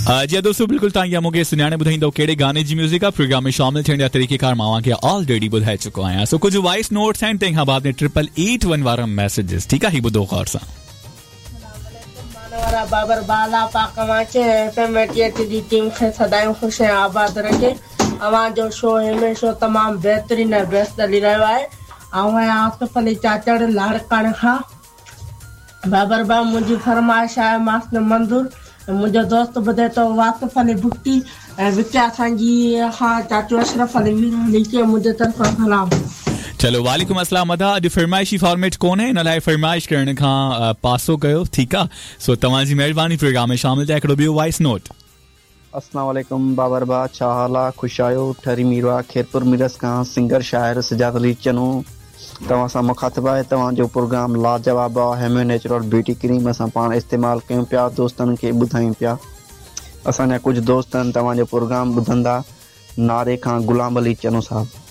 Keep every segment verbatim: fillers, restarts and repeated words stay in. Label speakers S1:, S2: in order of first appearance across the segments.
S1: जी दोस्तों, बिल्कुलु तव्हां इहा मूंखे सुञाणे ॿुधाईंदव कहिड़े गाने जी म्यूज़िक आहे। प्रोग्राम में शामिल थियण जा तरीक़ेकार मां तव्हांखे ऑलरेडी ॿुधाए चुको आहियां। सो कुझु वॉइस नोट्स आहिनि, तंहिंखां बाद में ट्रिपल एट वन वारा मैसेजेस, ठीकु आहे? ही ॿुधो ग़ौर सां।
S2: वारा बाबर बाला पाक अव्हांखे एफ एम एटी जी टीम खे सदाईं ख़ुशि ऐं आबाद रखे। अव्हांजो शो हमेशा तमामु बहितरीन ऐं बेस्ट हली रहियो आहे। ऐं आहियां आसिफ़ अली चाचड़ लाड़काणे खां। बाबर भाउ, मुंहिंजी फरमाइश आहे मास मंज़ूर। मुंहिंजो दोस्त ॿुधे थो वासिफ़ अली भुट्टी ऐं विच असांजी खां चाचू अशरफ़ अली मीरानी खे मुंहिंजे तरफ़ां सलाम।
S1: चलो वालेकुम अस्सलाम अदा, अॼु फरमाइशी फॉर्मेट कोन्हे, इन लाइ फरमाइश करण खां पासो कयो, ठीकु आहे? सो तव्हांजी महिरबानी प्रोग्राम में शामिल थिया। हिकिड़ो ॿियो वॉइस नोट।
S3: अस्सलाम वालेकुम बाबर बा, छा हाल आहे? ख़ुशि आहियो? ठरी मीरवा खेरपुर मिरस खां सिंगर शाइर सजाद अली चनो तव्हां सां मुखातिब आहे। तव्हांजो प्रोग्राम लाजवाब आहे। हेम्यो नेचुरल ब्यूटी क्रीम असां पाण इस्तेमालु कयूं पिया, दोस्तनि खे ॿुधायूं पिया। असांजा कुझु दोस्त आहिनि तव्हांजो प्रोग्राम ॿुधंदा। नारे खां गुलाम अली चनो साहिबु।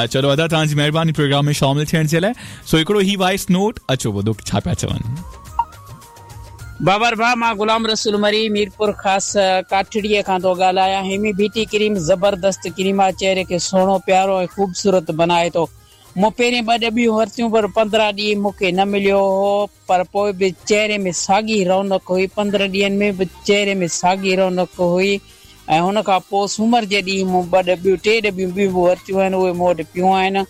S1: चलो अदा, तव्हांजी महिरबानी प्रोग्राम में शामिल थियण जे लाइ। सो हिकिड़ो ही वॉइस नोट, अचो ॿुधो छा पिया चवनि।
S4: बाबर भाउ, मां गुलाम रसूल मरी मीरपुर ख़ासि काठड़ीअ खां थो ॻाल्हायां। हेमी ब्यूटी क्रीम ज़बरदस्त क्रीम आहे, चेहरे खे सुहिणो प्यारो ऐं ख़ूबसूरत बनाए थो। मूं पहिरीं ॿ डबियूं वरितियूं पर पंद्रहं ॾींहं मूंखे न मिलियो हो, पर पोइ बि चेहरे में साॻी रौनक हुई। पंद्रहं ॾींहंनि में बि चेहरे में साॻी रौनक हुई। ऐं हुन खां पोइ सूमर जे ॾींहुं मूं ॿ डबियूं टे डबियूं ॿियूं बि वरितियूं आहिनि, उहे मूं वटि पियूं आहिनि।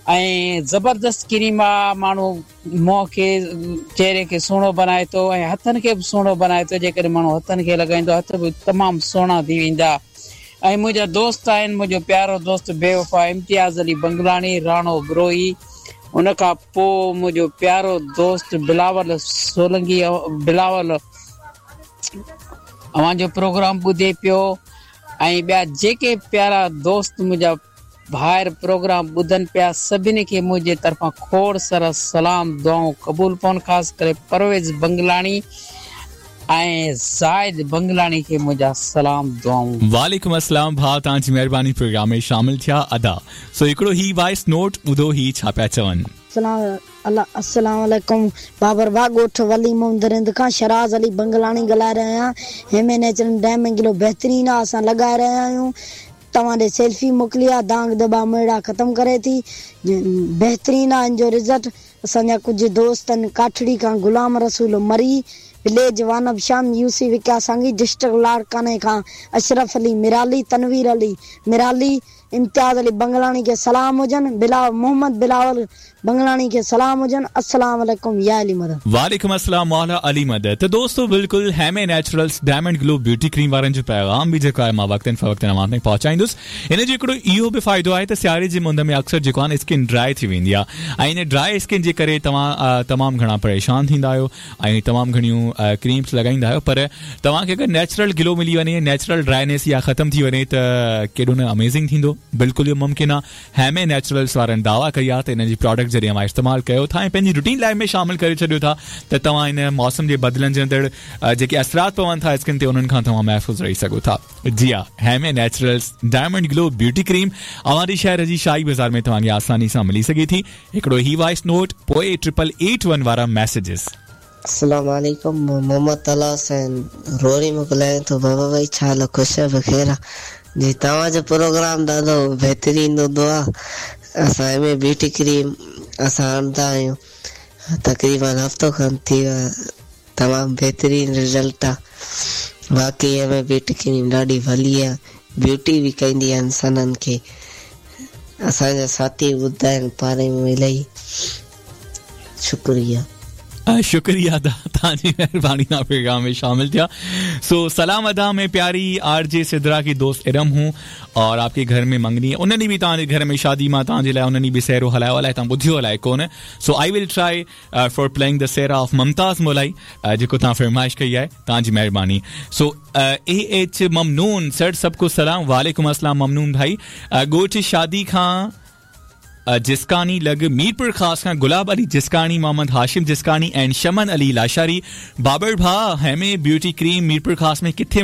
S4: ऐं ज़बरदस्त क्रीम आहे, माण्हू मुंहं खे चेहरे खे सुहिणो बनाए थो ऐं हथनि खे बि सुहिणो बनाए थो। जेकॾहिं माण्हू हथनि खे लॻाईंदो हथ बि तमामु सुहिणा थी वेंदा। ऐं मुंहिंजा दोस्त आहिनि, मुंहिंजो प्यारो दोस्त बेवफ़ा इम्तियाज़ अली बंगलाणी, राणो बरोही, उन खां पोइ मुंहिंजो प्यारो दोस्त बिलावल सोलंगी, बिलावल अव्हांजो प्रोग्राम ॿुधे पियो। ऐं ॿिया जेके प्यारा दोस्त मुंहिंजा भाइर प्रोग्राम ॿुधनि पिया, सभिनी खे मुंहिंजे तरफ़ां खोड़ सारा सलाम दुआऊं क़बूल पवनि। ख़ासि करे परवेज़ बंगलाणी ऐं ज़ाहिद बंगलाणी खे मुंहिंजा सलाम दुआऊं।
S1: वालेकुम अस्सलाम भाउ, तव्हांजी महिरबानी प्रोग्राम में शामिल थिया अदा। सो हिकिड़ो ही वॉइस नोट ॿुधो, ही छा पिया चवनि।
S5: अस्सलाम वालेकुम बाबर भाउ, ॻोठ वली मोहम्मद रिंद खां शराज़ अली बंगलाणी ॻाल्हाए रहियो आहियां। हेमे नेचुरल डैम गिलो बहितरीन आहे, असां लॻाए रहिया आहियूं। तव्हां ॾे सेल्फी मोकिली आहे, दांग दॿा मेड़ा ख़तमु करे थी, बहितरीन आहे इन जो रिज़ल्ट। असांजा कुझु दोस्त आहिनि काठड़ी खां गुलाम रसूल मरी, विलेज वानब शाम, यूसी विका सांगी, डिस्ट्रिक्ट लाड़काने खां अशरफ अली मिराली, तनवीर अली मिराली, इम्तियाज़ अली बंगलाणी खे सलाम हुजनि, बिलाव मोहम्मद बिलावल बंगलाणी खे सलाम हुजनि। अस्सलाम वालेकुम या अली मदद।
S1: वालेकुम अस्सलाम मौला अली मदद। त दोस्तों बिल्कुल हेमे naturals diamond glow beauty cream वारनि जो पैगाम बि जेको आहे मां वक़्तनि फ़वक़्तनि अव्हां ताईं पहुचाईंदुसि। इन जो हिकिड़ो इहो बि फ़ाइदो आहे त सियारे जी मुंद में अक्सर जेको आहे स्किन ड्राई थी वेंदी आहे ऐं इन ड्राई स्किन जे करे तव्हां तमामु घणा परेशान थींदा आहियो ऐं तमामु घणियूं क्रीम्स लॻाईंदा आहियो, पर तव्हांखे अगरि नेचुरल ग्लो मिली वञे, नेचुरल ड्राइनेस इहा ख़तमु थी वञे त केॾो न अमेज़िंग थींदो। बिल्कुलु इहो मुमकिन आहे। हेमे नेचुरल्स वारनि दावा कई आहे त हिन जी प्रोडक्ट जॾहिं अव्हां इस्तेमालु कयो था ऐं पंहिंजी रूटीन लाइफ में शामिल करे छॾियो था त तव्हां हिन मौसम जे बदिलंदड़ जेके असरात पवनि था स्किन ते उन्हनि खां तव्हां महफ़ूज़ रही सघो था। जी हा, हेमे naturals diamond glow beauty cream अव्हां शहर जी शाही बाज़ार में तव्हांखे आसानी सां मिली सघे थी। हिकिड़ो ही वॉइस नोट, पोइ ट्रिपल एट वन वारा मैसेजेस।
S6: अस्सलाम वालेकुम, मोहम्मद तला हुसैन रोरी में ॻाल्हायां थो। बाबा भाई छा हाल, ख़ुशि बख़ैर जी? तव्हांजो प्रोग्राम ॾाढो बहितरीन हूंदो आहे। असां एम ब्यूटी क्रीम असां आणंदा आहियूं, तक़रीबन हफ़्तो खनि थी वियो आहे, तमामु बहितरीन रिज़ल्ट आहे। बाक़ी एम ब्यूटी क्रीम ॾाढी भली आहे, ब्यूटी बि कंदी आहे इंसाननि खे। असांजा साथी ॿुधाइनि पाणे में इलाही शुक्रिया।
S1: शुक्रिया अदा, तव्हांजी महिरबानी तव्हां प्रोग्राम में शामिल थिया। सो सलाम अदा, मैं प्यारी आरजे सिदरा की दोस्त इरम हूँ और आपके घर में मंगनी, उन्होंने भी तव्हांजे घर में शादी मां तव्हांजे लाइ उन्होंने बि सहरो हलायो, अलाए तव्हां ॿुधियो अलाए कोन। So I will try for playing the sehra of Mumtaz Molai, जेको तव्हां फरमाइश कई आहे, तव्हांजी महिरबानी। सो ए एच ममनून सर, सबको सलाम। वालेकुम अस्सलाम ममनून भाई। ॻोठ शादी खां जिस्कानी लॻ मीरपुर ख़ास खां गुलाब अली जिस्कानी, मोहम्मद हाशिम जिस्कानी एंड शमन अली लाशारी। बाबर भा, हेमे ब्यूटी क्रीम मीरपुर ख़ास में किथे